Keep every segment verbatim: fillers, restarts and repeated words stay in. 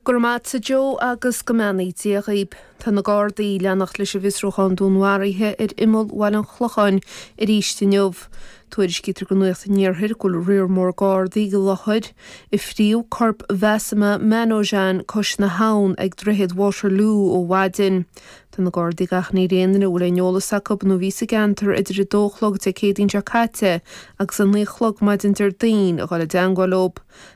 Go raibh maith agat a Joe agus go mbeannaí Dia dhaoib. Tá na Gardaí ag leanacht leis an bhfiosrúchán dúnmharaithe ar imeall Bhaile an Chlocháin arís inniu. Tuairiscítear do Nuacht an Iarthair go bhfuil riar mór Gardaí i láthair a fríodh corp Mhassima Manojan cois na habhann ag Droichead Waterloo ó mhaidin. Tá na Gardaí ag achainí ar aon duine a bhfuil aon eolas acu nó a bhí sa gceantar idir a dó a chlog Dé Céadaoin seo caite agus a naoi a chlog maidin Déardaoin a dhul i dteangmháil leo.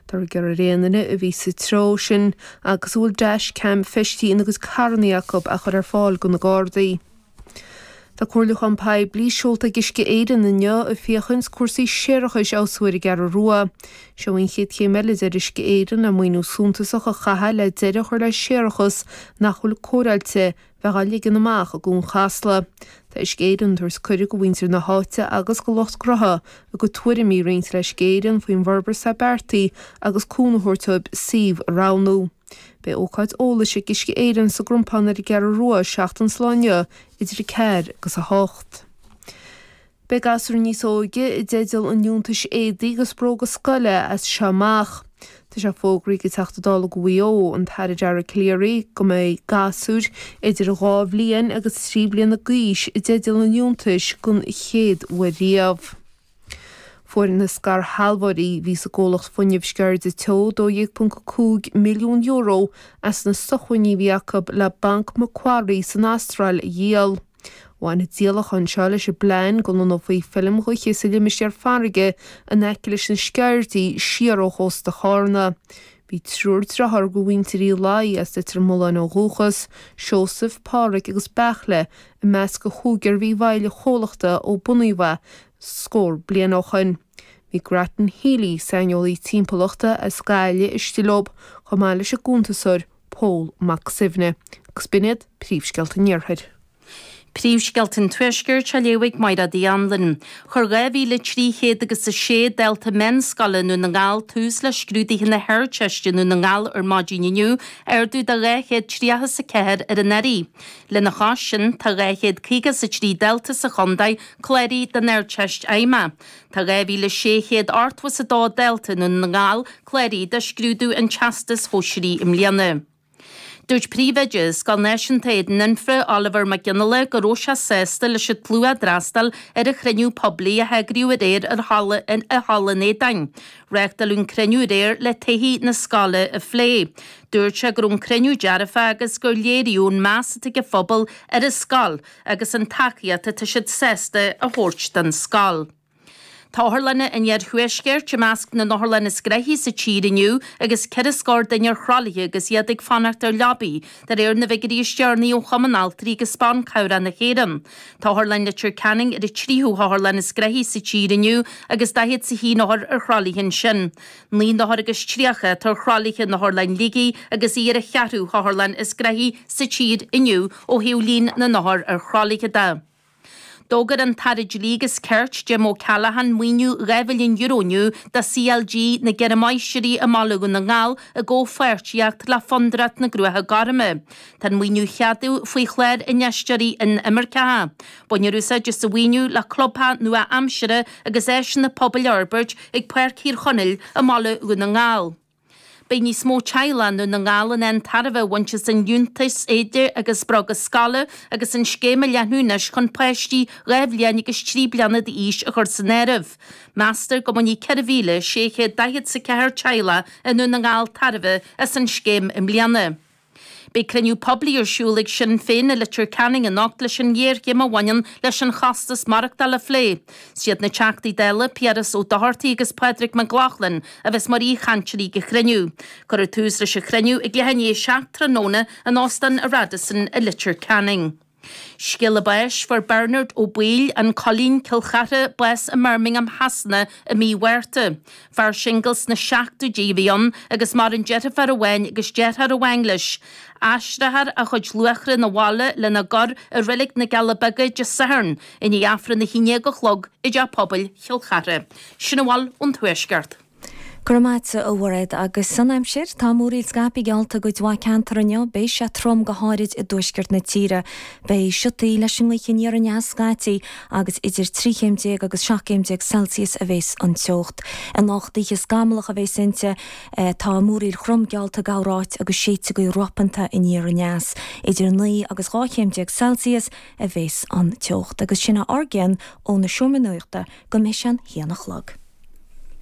Táthar ag iarraidh ar aon duine a bhí sa treo sin agus a bhfuil dash cam feistithe ina gcuid carranna acu a chur ar fáil do na Gardaí. Tá comhairliúchán poiblí seolta ag Uisce Éireann inniu ag féachaint cúrsaí séarachais a fheabhsú ar an gCeathrú Rua. Seo an chéad chéim eile a deir Uisce Éireann le maoiniú suntasach a chaitheamh le deireadh a chur le séarachas nach bhfuil cóireáilte bheith á ligean amach i gCuan Chasla. Tá Uisce Éireann ag tabhairt cuireadh do mhuintir na háite agus do lucht gnótha a gcuid tuairimí a roinnt le Uisce Éireann faoin bhforbairt atá beartaithe agus cúnamh a thabhairt dóibh suíomh a roghnú. Beidh ócáid eolais ag Uisce Éireann sa gCrompán ar an gCeathrú Rua seachtain sa lá inniu idir a ceathair agus a hocht. Beidh gasúir níos óige i dteideal an liúntais éadaí agus bróga scoile as seo amach. Tá sé fógraithe ag an Teachta Dála do Mhaigh Eo, an tAire Dara Calleary, go mbeidh gasúir idir dhá bhliain agus trí bliana d'aois i dteideal an liúntais den chéad uair riamh. Fuair na scairshealbhóirí a bhí sa gcomhlacht fuinnimh Sceirde Teo dó dhéag ponc a cúig milliún euro as na sócmhainní a bhí acu le Banc Macquarie san Astráil a dhíol. Bhain an díolachán seo leis an bplean go lonnófaí feilm ghaoithe sa limistéar farraige in aice leis na Sceirdí siar ó chósta Chárna. Bhí triúr deartháir de mhuintir Uí Laoi as Leitir Mealláin ó dhúchas, Seosamh, Pádraig agus Beairtle, i measc an chúigear a bhí i bhfeighil an chomhlachta ó bunaíodh é scór bliain ó shin. Bhí Grattan Healy, saineolaí timpeallachta as Gaillimh, istigh leo, chomh maith leis an gcuntasóir Pól Mac Suibhne. Agus b'in iad príomhscéalta an Iarthair. Príomhscéalta an Tuaiscirt á léamh ag Máire Uí Anluain. Chuir dhá mhíle trí chéad agus a sé dalta meánscoile i nDún na nGall tús le scrúduithe na hArdteiste i nDún na nGall ar maidin inniu, ardú de dhá chéad tríocha is a ceathair ar anuraidh. Lena chois sin, tá dhá chéad caoga is a trí dalta sa chontae cláraithe don Ardteist Fheidhmeach. Tá dhá mhíle sé chéad ochtó is a dó dalta i nDún na nGall cláraithe do scrúdú an Teastais Shóisearaigh i mbliana. Dúirt Príomhoide Scoil Náisiúnta Éadan Anfa, Oliver Mac Fhionnghaile, go raibh sé sásta leis an tslua a d'fhreastail ar an chruinniú poiblí a heagraíodh aréir ar Halla i Halla an Éadáin. Reáchtáladh an cruinniú aréir le todhchaí na scoile a phlé. Dúirt sé go raibh an cruinniú dearfach agus gur léiríodh an meas atá ag an phobal ar an scoil agus an tacaíocht atá siad sásta a thabhairt don scoil. Tá otharlanna an iarthuaiscirt i measc na n-otharlann is gnoithí sa tír inniu agus ceithre scór duine ar thralaithe agus iad ag fanacht ar leabaí, de réir na bhfigiúirí is deireanaí ó Chumann Altraí agus Ban Cabhrach na hÉireann. Tá Otharlann Leitir Ceanainn ar an tríú hotharlann is gnoithí sa tír inniu agus daichead is a haon othar ar thralaithe ansin. Naoi n-othar agus tríocha atá ar thralaithe in Otharlann Shligigh agus í ar an cheathrú hotharlann is gnoithí sa tír inniu ó thaobh líon na n-othar ar thralaithe de. D'fhógair an tAire Dlí agus Cirt, Jim O'Callaghan, maoiniú dhá mhilliún euro inniu do CLG na gCeithre Máistrí i mBaile Dhún na nGall i gcomhpháirtíocht le Fondúireacht na gCruacha Gorma. Tá an maoiniú ceadaithe faoi chlár Infheisteoirí Inimirceacha. Bainfear úsáid as an mhaoiniú le clubtheach nua-aimseartha agus áiseanna pobail a fhorbairt ag Páirc Thír Chonaill i mBaile Dhún na nGall. Beidh níos mó teaghlach i nDún na nGall in ann tairbhe a bhaint as an liúntas éide agus bróga scoile agus an scéim á leathnú anois chun páistí dhá bhliain agus trí bliana d'aois a chur san áireamh. Meastar go mbainfidh ceithre mhíle sé chéad daichead is a ceathair teaghlach i nDún na nGall tairbhe as an scéim i mbliana. Beidh cruinniú poiblí ar siúl ag Sinn Féin i Leitir Ceanainn anocht leis an ghéarchéim a bhaineann leis an chostas maireachtála a phlé. Is iad na Teachtaí Dála, Piaras Ó Dochartaigh agus Pádraig Mac Lochlainn a bheas mar aoichainteoirí ag an chruinniú. Cuirfear tús leis an chruinniú ag leath i ndiaidh a seacht tráthnóna in Óstán an Radisson i Leitir Ceanainn. Scéala báis, Fuair Bernard Ó Baoill, An Coillín, Cill Chartha, bás i mBirmingham Shasana i mí Mhárta. Fear singil sna seachtóidí a bhí ann agus maireann deirfiúr amháin agus deartháir amháin leis. Aistreofar a chuid luachra 'na bhaile lena gcur i Reilig na gCealla Beaga Dé Sathairn i ndiaidh Aifreann a haon déag a chlog i dTeach Pobail Chill Chartha. Sin a bhfuil ón Tuaisceart. Go raibh maith agat a Mhairéad agus an aimsir tá múraíl scaipthe geallta i gcuid mhaith ceantar inniu, beidh sé trom go háirid i dtuaisceart na tíre. Beidh siotaí leis an ngaoth aniar aneas scaití agus idir trí chéim déag agus seacht gcéim déag Celsius a bheas an teocht. Anocht oíche scamallach a bheas inti, tá múraíl throm geallta i gcorráit agus séidfidh gaoth ropanta aniar aneas. Idir naoi agus dhá chéim déag Celsius a bheas an teocht. Agus sin ár gcionn óna seomra nuachta go mbeidh sé an haon a chlog.